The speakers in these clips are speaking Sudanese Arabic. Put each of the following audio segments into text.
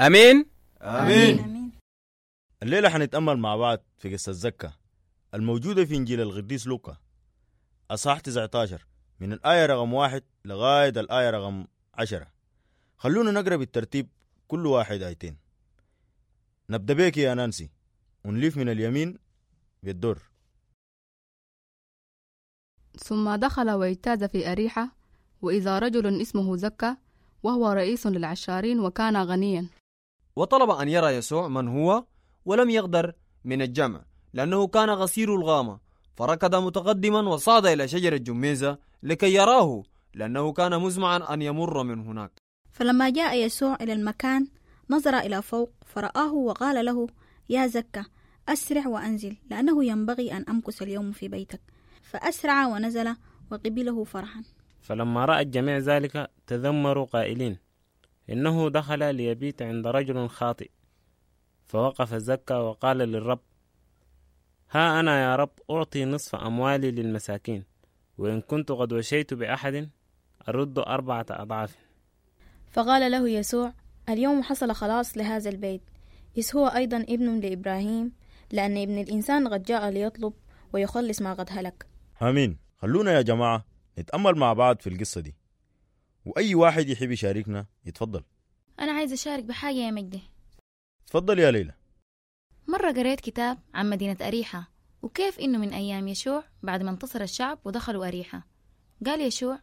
امين. آمين. الليلة حنتأمل مع بعض في قصة زكا الموجودة في إنجيل القديس لوقا أصحاح 19 من الآية رقم 1 لغاية الآية رقم 10. خلونا نقرأ بالترتيب كل واحد آيتين. نبدأ بك يا نانسي ونلف من اليمين بالدور. ثم دخل واجتاز في أريحة، وإذا رجل اسمه زكا وهو رئيس للعشارين وكان غنيا. وطلب أن يرى يسوع من هو، ولم يقدر من الجمع لأنه كان غسير الغامة، فركض متقدما وصعد إلى شجرة جميزة لكي يراه، لأنه كان مزمعا أن يمر من هناك. فلما جاء يسوع إلى المكان نظر إلى فوق فرآه وقال له: يا زكا، أسرع وأنزل، لأنه ينبغي أن أمكث اليوم في بيتك. فأسرع ونزل وقبله فرحا. فلما رأى الجميع ذلك تذمروا قائلين: إنه دخل ليبيت عند رجل خاطئ. فوقف زكا وقال للرب: ها أنا يا رب أعطي نصف أموالي للمساكين، وإن كنت قد وشيت بأحد أرد 4 أضعاف. فقال له يسوع: اليوم حصل خلاص لهذا البيت، إذ هو أيضا ابن لإبراهيم، لأن ابن الإنسان قد جاء ليطلب ويخلص ما قد هلك. آمين. خلونا يا جماعة نتأمل مع بعض في القصة دي، وأي واحد يحب يشاركنا يتفضل. أنا عايز أشارك بحاجة يا مجدي. تفضل يا ليلى. مرة قريت كتاب عن مدينة أريحة، وكيف إنه من أيام يشوع بعد ما انتصر الشعب ودخلوا أريحة. قال يشوع: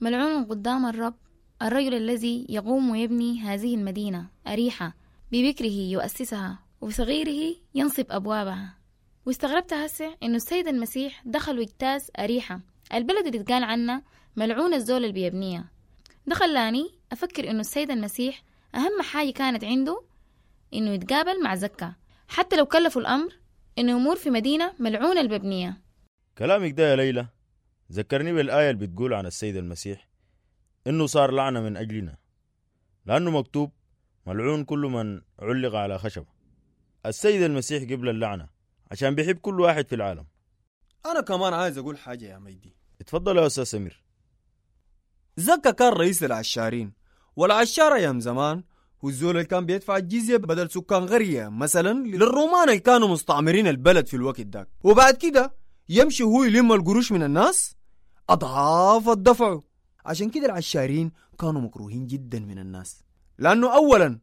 ملعون قدام الرب الرجل الذي يقوم ويبني هذه المدينة أريحة، ببكره يؤسسها وبصغيره ينصب أبوابها. واستغربت هسه إنه السيد المسيح دخل واجتاز أريحة، البلد اللي اتقال عنها ملعون الزول اللي بيبنيها. ده خلاني أفكر إنه السيد المسيح أهم حاجة كانت عنده إنه يتقابل مع زكا، حتى لو كلفوا الأمر إنه يمر في مدينة ملعونة الببنية. كلامك ده يا ليلى ذكرني بالآية اللي بتقول عن السيد المسيح إنه صار لعنة من أجلنا، لأنه مكتوب ملعون كل من علق على خشبة. السيد المسيح قبل اللعنة عشان بيحب كل واحد في العالم. أنا كمان عايز أقول حاجة يا ميدي. اتفضل يا أستاذ سمير. زكا كان رئيس العشارين، والعشارة أيام زمان هو الزول اللي كان بيدفع الجزية بدل سكان قرية مثلا للرومان اللي كانوا مستعمرين البلد في الوقت داك، وبعد كده يمشي هو يلم القروش من الناس أضعاف الدفع. عشان كده العشارين كانوا مكروهين جدا من الناس، لأنه أولا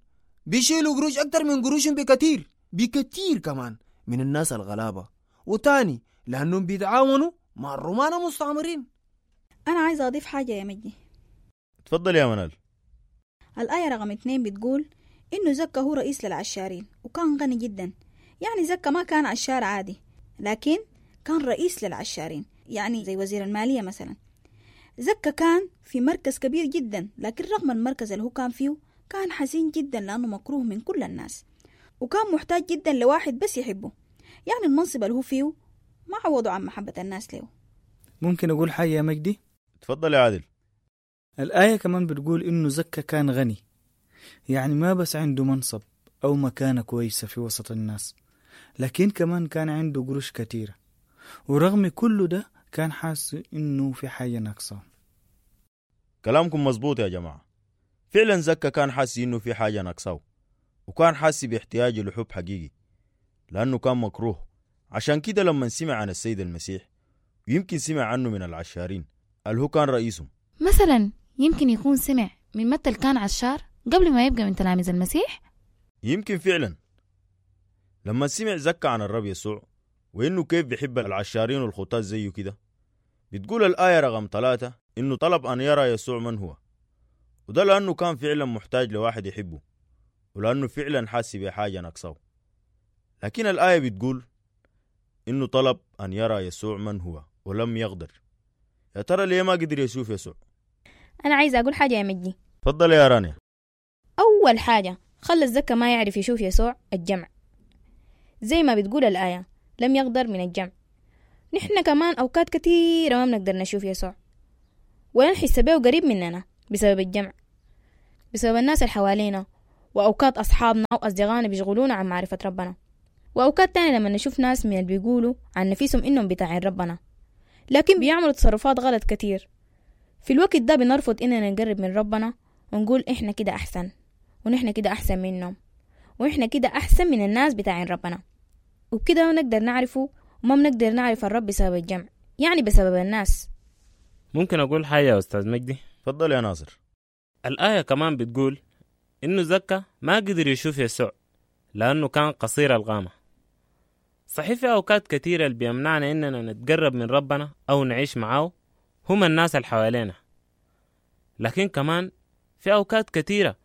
بيشيلوا قروش أكتر من قروشهم بكثير بكثير كمان من الناس الغلابة، وتاني لأنهم بيتعاونوا مع الرومان المستعمرين. أنا عايزة أضيف حاجة يا مجدي. تفضل يا منال. الآية رقم 2 بتقول إنه زكا هو رئيس للعشارين وكان غني جدا. يعني زكا ما كان عشار عادي، لكن كان رئيس للعشارين، يعني زي وزير المالية مثلا. زكا كان في مركز كبير جدا، لكن رغم المركز اللي هو كان فيه كان حزين جدا لأنه مكروه من كل الناس، وكان محتاج جدا لواحد بس يحبه. يعني المنصب اللي هو فيه ما عوضه عن محبة الناس له. ممكن أقول حاجة يا مجدي؟ تفضل يا عادل. الآية كمان بتقول إنه زكا كان غني، يعني ما بس عنده منصب أو مكانة كويسة في وسط الناس، لكن كمان كان عنده قروش كتيرة، ورغم كل ده كان حاسس إنه في حاجة ناقصة. كلامكم مظبوط يا جماعة. فعلا زكا كان حاسس إنه في حاجة ناقصاه، وكان حاسس باحتياجه لحب حقيقي لأنه كان مكروه. عشان كده لما سمع عن السيد المسيح، ويمكن سمع عنه من العشارين اللي هو كان رئيسهم، مثلا يمكن يكون سمع من متى كان عشار قبل ما يبقى من تلاميذ المسيح. يمكن فعلا لما سمع زكا عن الرب يسوع وإنه كيف بيحب العشارين والخطاة زيه كده، بتقول الآية رقم 3 إنه طلب أن يرى يسوع من هو، وده لأنه كان فعلا محتاج لواحد يحبه، ولأنه فعلا حاسس بحاجة ناقصاه. لكن الآية بتقول إنه طلب أن يرى يسوع من هو ولم يقدر. يا ترى ليه ما قدر يشوف يسوع؟ أنا عايزة أقول حاجة يا مجدي. تفضل يا رانيا. أول حاجة خلى الزكا ما يعرف يشوف يسوع الجمع، زي ما بتقول الآية لم يقدر من الجمع. نحن كمان أوقات كثيرة ما بنقدر نشوف يسوع ولا نحس به قريب مننا بسبب الجمع، بسبب الناس اللي حوالينا، وأوقات أصحابنا أو أصدقائنا بيشغلونا عن معرفة ربنا، وأوقات تانية لما نشوف ناس من اللي بيقولوا عن نفسهم إنهم بتاعين ربنا لكن بيعملوا تصرفات غلط كتير. في الوقت ده بنرفض إننا نقرب من ربنا ونقول إحنا كده أحسن، ونحن كده أحسن منهم، ونحن كده أحسن من الناس بتاعين ربنا، وبكده ما بنقدر نعرفه وما بنقدر نعرف الرب بسبب الجمع، يعني بسبب الناس. ممكن أقول حاجة يا أستاذ مجدي؟ تفضل يا ناصر. الآية كمان بتقول إنه زكا ما قدر يشوف يسوع لأنه كان قصير القامة. صحيح في أوقات كثيرة اللي بيمنعنا إننا نتقرب من ربنا أو نعيش معاه هم الناس اللي حوالينا، لكن كمان في أوقات كثيرة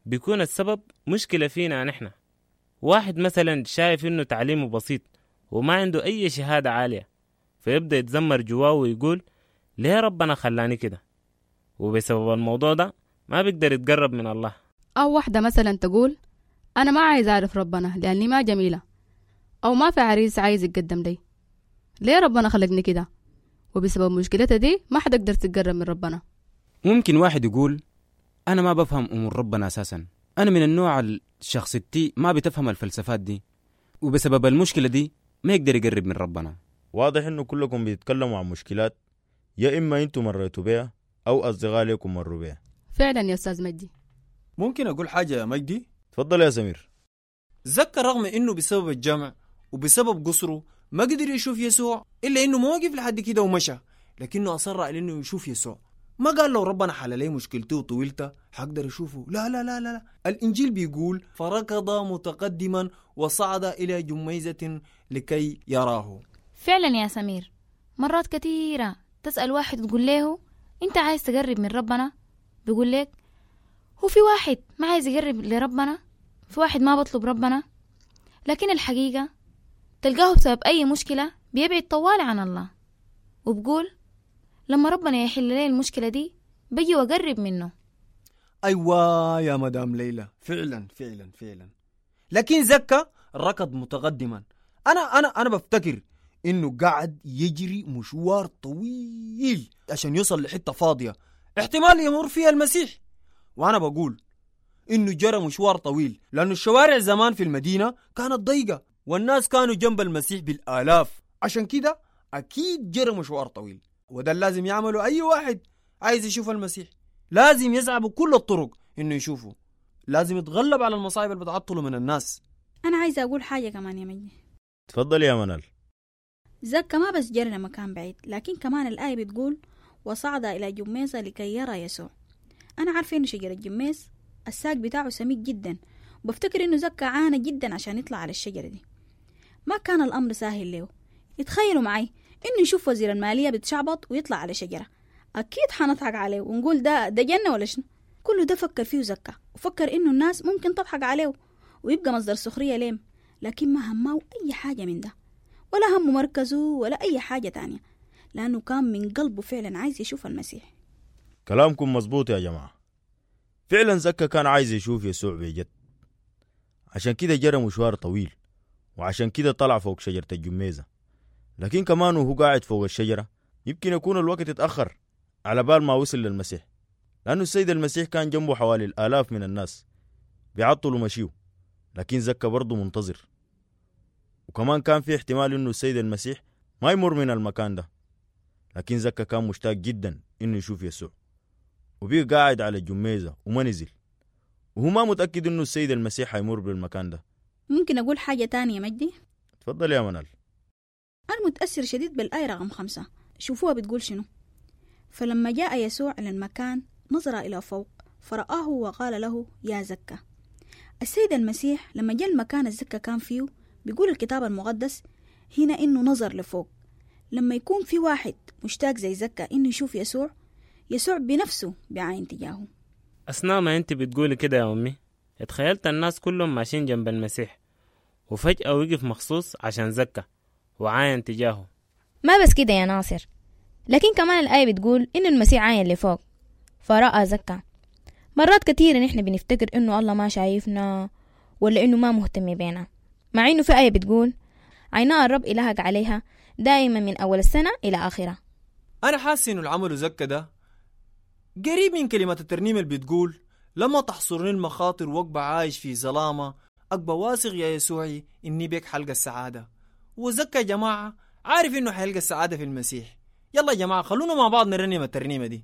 بيكون السبب مشكلة فينا نحن. واحد مثلا شايف إنه تعليمه بسيط وما عنده أي شهادة عالية، فيبدأ يتذمر جواه ويقول ليه ربنا خلاني كده، وبسبب الموضوع ده ما بيقدر يتقرب من الله. أو واحدة مثلا تقول أنا ما عايز أعرف ربنا لأني ما جميلة، أو ما في عريس عايز يتقدم لي، ليه ربنا خلقني كده؟ وبسبب مشكلتها دي ما حتقدر تتقرب من ربنا. ممكن واحد يقول أنا ما بفهم أمور ربنا أساسا، أنا من النوع الشخصيتي ما بتفهم الفلسفات دي، وبسبب المشكلة دي ما يقدر يقرب من ربنا. واضح إنه كلكم بيتكلموا عن مشكلات يا إما أنتم مريتوا بيها أو أصدقاء لكم مروا بيها. فعلا يا أستاذ مجدي. ممكن أقول حاجة يا مجدي؟ تفضل يا سمير. زكا رغم إنه بسبب الجمع وبسبب قصره ما قدر يشوف يسوع، إلا إنه ما وقف لحد كده ومشى، لكنه أصر على إنه يشوف يسوع. ما قال لو ربنا حل لي مشكلتي وطويلته حقدر أشوفه، لا لا لا لا. الإنجيل بيقول فركض متقدما وصعد إلى جميزة لكي يراه. فعلا يا سمير، مرات كثيرة تسأل واحد وتقول له أنت عايز تقرب من ربنا، بيقول لك هو في واحد ما عايز يقرب لربنا، في واحد ما بطلب ربنا. لكن الحقيقة تلقاه بسبب أي مشكلة بيبعد طوال عن الله، وبقول لما ربنا يحل لي المشكلة دي بجي وأقرب منه. أيوة يا مدام ليلى، فعلا فعلا فعلا. لكن زكا ركض متقدما. أنا بفتكر إنه قاعد يجري مشوار طويل عشان يوصل لحتة فاضية احتمال يمر فيها المسيح. وأنا بقول إنه جرى مشوار طويل لأنه الشوارع زمان في المدينة كانت ضيقة والناس كانوا جنب المسيح بالآلاف، عشان كده أكيد جرى مشوار طويل. وده لازم يعمله أي واحد عايز يشوف المسيح، لازم يسعى بكل الطرق إنه يشوفه، لازم يتغلب على المصايب اللي بتعطله من الناس. أنا عايزة أقول حاجة كمان يا مجدي. تفضل يا منال. زكا ما بس جرى لمكان بعيد، لكن كمان الآية بتقول وصعد إلى جميزة لكي يرى يسوع. أنا عارفة إنه شجرة الجميز الساق بتاعه سميك جدا، وبفتكر إنه زكا عانى جدا عشان يطلع على الشجرة دي. ما كان الأمر سهل له. يتخيلوا معي إنه يشوف وزير المالية بتشعبط ويطلع على شجرة، أكيد حنضحك عليه ونقول ده جنة ولا شنو. كله ده فكر فيه زكا، وفكر إنه الناس ممكن تضحك عليه ويبقى مصدر سخرية ليه، لكن ما همه أي حاجة من ده، ولا همه مركزه ولا أي حاجة تانية، لأنه كان من قلبه فعلا عايز يشوف المسيح. كلامكم مظبوط يا جماعة، فعلا زكا كان عايز يشوف يسوع بجد، عشان كده جرى مشوار طويل، وعشان كده طلع فوق شجرة الجميزة. لكن كمان وهو قاعد فوق الشجرة يمكن يكون الوقت اتأخر على بال ما وصل للمسيح، لأنه السيد المسيح كان جنبه حوالي الآلاف من الناس بيعطلوا مشيه، لكن زكا برضه منتظر. وكمان كان في احتمال إنه السيد المسيح ما يمر من المكان ده، لكن زكا كان مشتاق جدا إنه يشوف يسوع، وبيه قاعد على الجميزة وما نزل، وهو ما متأكد إنه السيد المسيح حيمر بالمكان ده. ممكن أقول حاجة تانية مجدي؟ تفضل يا منال. أنا متأثر شديد بالآية رقم 5، شوفوها بتقول شنو. فلما جاء يسوع إلى المكان نظر إلى فوق فرآه وقال له يا زكا. السيد المسيح لما جاء المكان الزكا كان فيه، بيقول الكتاب المقدس هنا إنه نظر لفوق. لما يكون في واحد مشتاق زي زكا إنه يشوف يسوع، يسوع بنفسه بعين تجاهه. أثناء ما أنت بتقولي كده يا أمي، اتخيلت الناس كلهم ماشيين جنب المسيح، وفجأة وقف مخصوص عشان زكا وعاين تجاهه. ما بس كده يا ناصر، لكن كمان الآية بتقول إن المسيح عاين لفوق فرأى زكا. مرات كثيرة نحن بنفتكر إنه الله ما شايفنا ولا إنه ما مهتم بينا، مع إنه في آية بتقول عينا الرب إلهك عليها دائما من أول السنة إلى آخرها. أنا حاسس إنه العمل زكا ده قريب من كلمة الترنيم اللي بتقول لما تحصرني المخاطر وأبقى عايش في ظلامة أبقى واثق يا يسوعي إني بك حلقة السعادة. وزكا يا جماعة عارف إنه حيلقى السعادة في المسيح. يلا يا جماعة خلونا مع بعض نرنم الترنيمة دي.